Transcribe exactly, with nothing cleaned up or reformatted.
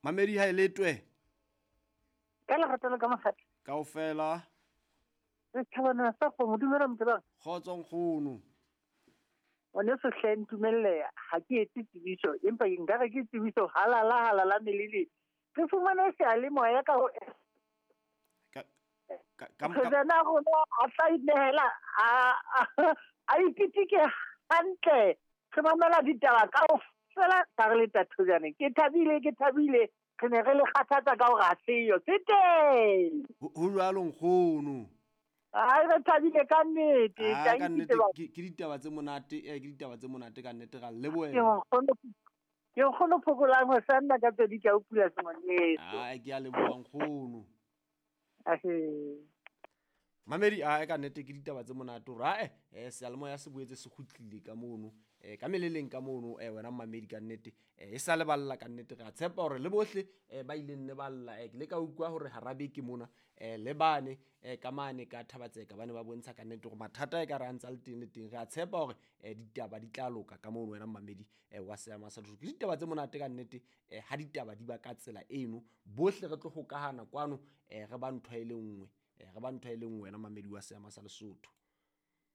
Mamedi ha e letwe. Ka lerato le ka mokgatlo. Kaofela. Re thabana sa kgomo dumela motho. Kgotso nkgono. Ngwaneso hle ntumelle ha ke etse tsebiso empa nka re ke tsebiso halala halala melele. Re fumane seyalemoya ka ho Ka ka ka President a rona a tla inehela a a ipitike hantle. Re mamela ditaba kaofela ka re le Tathojane. Ke thabile ke thabile re ne re le kgathatsa ka hore ha seyo. Se teng. Ho jwalo nkgono. Ai re thabile ka nnete. Ah, ka nnete ke ke ditaba tse monate, eh ke ditaba tse monate ka nnete ra lebohela. Ke nkgono ke nkgono phokolang ho sanna ka pedi ka o pula sengwaneso. Ah, ke a leboha nkgono. Ahe. Mamedi a ka nnete ke ditaba tse monate hore ae eh seyalemoya se boetse se kgutlile ka mono eh ka meleleng ka mono eh wena mamedi ka nnete eh e sa leballa ka nnete re a tshepa hore le bohle eh ba ileng ne balla eh ke le ka utlwa hore hara beke mona eh le bane eh ka mane ka Thabatseka ba ne ba bontsha ka nnete hore mathata e ka re a ntsa le teng le teng re a tshepa hore eh ditaba di tla loka ka mono wena mamedi eh wa seama sa Lesotho. Ke ditaba tse monate ka nnete eh ha ditaba di ba ka tsela eno bohle re tlo hokahana kwano eh re ba ntho e le nngwe. Re ba ntho e le nngwe wena mamedi wa seama sa Lesotho.